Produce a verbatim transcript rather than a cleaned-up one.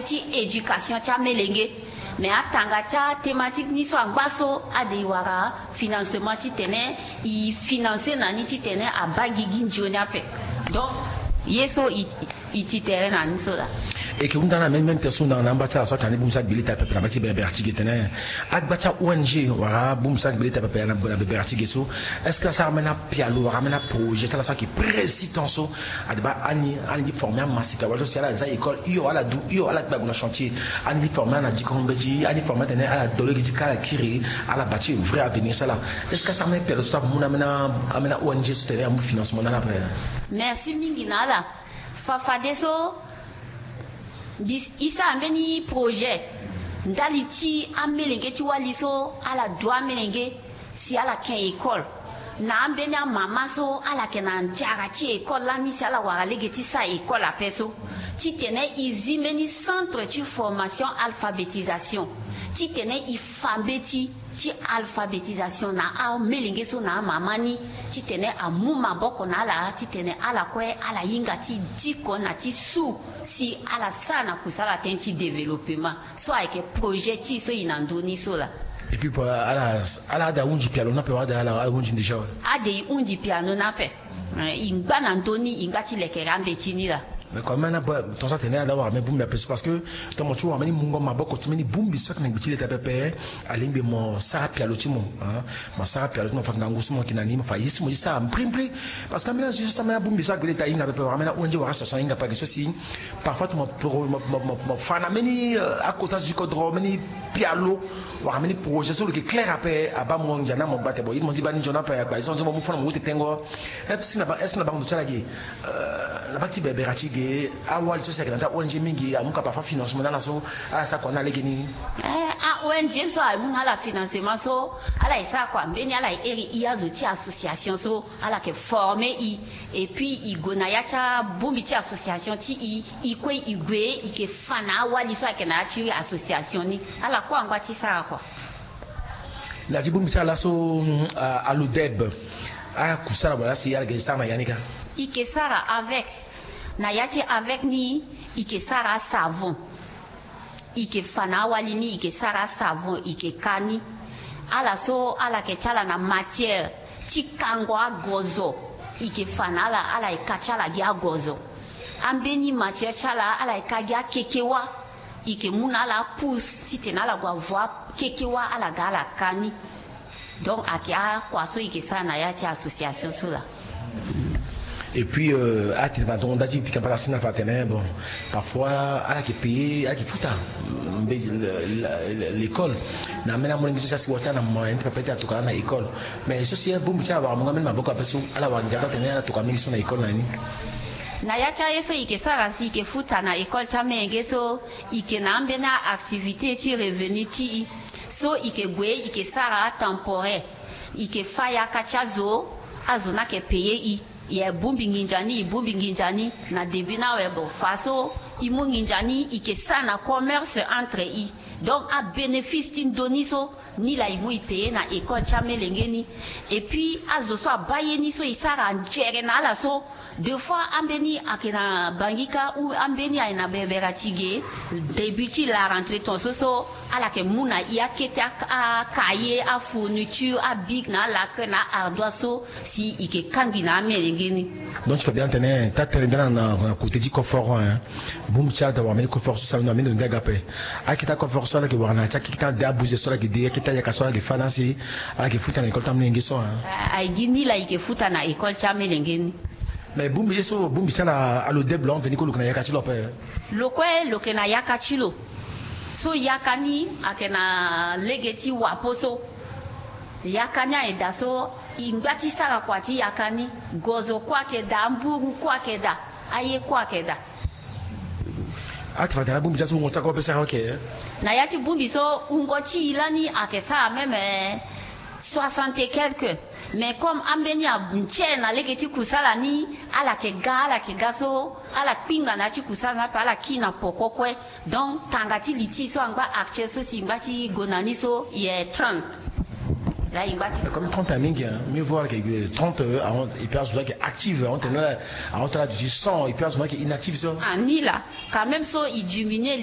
ti éducation ti amelenge. Mais atanga ti athématique ni so angba so ade e wara financement titene e financer na ni titene abaa gigi nzoni ape. Donc ye so e, e ti tere na ni so laa. E ke hunda na même, même tere so na, na amba ti ala so atene ni bongbi ti agbe leta pepe na mba ti berbere ti ge tene agba ti a-O N G wala bongbi ti agbe leta pepe na, na berbere ti ge so, est-ce que asara ambeni apialo wala ambeni aprojet ti ala so ayeke précis temps so ade baa ani, ani ti former amasika wala so si ala za école hio, ala du hio, ala kpe ague na chantier, ani ti former ala na dikongo mbeti, ani ti former atene ala do lege ti ka ala kiri, ala bâtir vrai avenir ti ala. Est-ce que asara ambeni apialo so ti amu na ambeni, ambeni a-O N G so tene amu financement na ala ape? Merci mingi na ala. Fa fadeso, e sara mbeni projet ndali ti amelenge ti wali so ala du amelenge si ala ke école, na ambeni amama so ala yeke na nzara ti école lani si ala wara lege ti sara école ape so, titene e zi mbeni centre ti formation alphabétisation, titene e fa mbeti ti alphabétisation na amelenge so na amama ni, titene amu maboko na ala, titene ala kue ala hinga ti diko na ti su si ala sara na kusala tënë ti développement. So ayeke projet ti e so e na ndö ni so laa. Et puis, ala, ala ade ahundi piano ni ape wala ade ala, ala hundi déjà? Ade e hundi piano ni ape. Eh, e ngba na ndö ni, e ngba ti lekere ambeti ni laa. Mais quand même, na ba, ton so atene ala wara mbeni bongbi ape so, parce que ton mo ti wara mbeni mungo maboko ti mbeni bongbi so ayeke na gbe ti leta pepe, alingbi mo sara pialo ti mo, hein. Mo sara pialo ti mo, fa ngangu so mo yeke na ni, mo fa ye so mo ti sara mbrimbri. Parce que ambeni azo so, ambeni abongbi so agbe leta ahinga pepe, wala ambeni a-O N G wala association ahinga pepe, ake so si parfois tongana mo, mo, mo, mo, mo fa na mbeni, euh, akota zo ti kodro, mbeni pialo wala mbeni projet so lo yeke clair ape, abaa mo ndia ni, mo gba tene bon, ye ti mo zi baa ni nzoni ape, agba ye so nzoni mo mu fo na mo wu tete ngo. Est-ce que na ba, est-ce que na bango ndo ti ala ge, euh, na baa ti berbere ti ge, awali so si ayeke na ya ti a-O N G mingi amu ka parfois financement na ala so ala sara kua na ala legeni? Eh, a-O N G so amu na ala financement so ala ye sara kua, mbeni ala ye iri e azo ti association so ala yeke former e. Et puis e gue na ya ti abongbi ti association ti e, e kue e gue e yeke fa na awali so ayeke na ya ti association ni. Ala kue angba ti sara kua. Na ya ti bongbi ti ala so, mm, a, alodeb, akusala wala si ala yeke sara na ya ni kâ? E yeke sara avec. Na ya ti avec ni, e yeke sara asavon. E yeke fa na awali ni, e yeke sara asavon, e yeke ka ni. Ala so ala yeke ti ala na matière ti kango agozo, e yeke fa na ala, ala yeke ka ti ala gi agozo. Ambeni matière ti ala, ala yeke ka gi akekewa. E yeke mu na ala apousse titene ala gue avo akekewa, ala ga ala ka ni. Donc ayeke akua so e yeke sara na ya ti association so laa. Et puis, euh, atene fa tongo nda ti pika mpata ti na fa atene bon, parfois ala yeke payer, ala yeke futa, mm, mbe, le, le, le, l'école. Na ambeni amolenge so si asi wara ti ala na moyen ti pepe ti atokua na école. Mais so si abongbi ti ala wara mungo ambeni maboko ape so, ala wara ndia ti atene ala tokua mingi so na école na ni. Na ya ti aye so e yeke sara si e yeke futa na école ti amelenge so, e yeke na ambeni a-activité ti revenu ti e. So e yeke gue, e yeke sara atemporaire. E yeke fâ yaka ti azo, azo ni ayeke payer e. E bongbi nginza ni, e bongbi nginza ni. Na début ni awe, bon, façon e mu nginza ni, e yeke sara na commerce entre e. Donc abénéfice ti ndö ni so, ni laa e mu e payer na école ti amelenge ni. Et puis azo so abaa ye ni so e sara nzere na ala so, des fois ambeni ayeke na Bangui kâ ou ambeni ayeke na berbere ti ge, début ti la rentrée ton so so, ala yeke mu na e akete, a, acahier, afourniture, abic na alacre na aardoise so si e yeke kangbi na amelenge ni. Donc ti fa bien atene taa tere nda na, na, na côté ti coffre, hein. Bongbi ti ala daa wara mbeni coffre so si ala na mbeni ndo ni ga ape. Akete coffre so ala yeke wara na ya ti akete ade abuze so ala yeke de, akete ayaka so ala yeke fâ na si ala yeke futa na école ti amelenge so, hein. A, aye gi ni laa e yeke futa na école ti amelenge ni. Mais bongbi ye so, bongbi ti ala, alodeb lo, ahon veni kue lo yeke na yaka ti lo ape? Lo kue lo yeke na yaka ti lo. So yaka ni ayeke na lege ti wapo so. Yaka ni aye daa so, e ngba ti sara kua ti yaka ni. Gozo kue ayeke daa, amburu kue ayeke daa, aye kue ayeke daa. Ati fa tene abongbi ti aso wungo ti ako ape sara oke? Na ya ti bongbi so wungo ti e lani ayeke sara même, eh, soixante et quelques. Mais comme ambeni anze na lege ti kusala ni, ala yeke ga, ala yeke ga so, ala kpingba na ya ti kusala ni ape, ala kiri na poko kue. Donc tanga ti li ti e so angba actuel so si e ngba ti gue na ni so, e trente. Là e ngba ti. Comme trente aye mingi, hein. Mieux vaut ala yeke trente, euh, ahon, et puis azo so ayeke active, ahon tene la, ahon tene la duti cent, et puis azo so ayeke inactive so. Ah, ni laa, quand même so e diminuer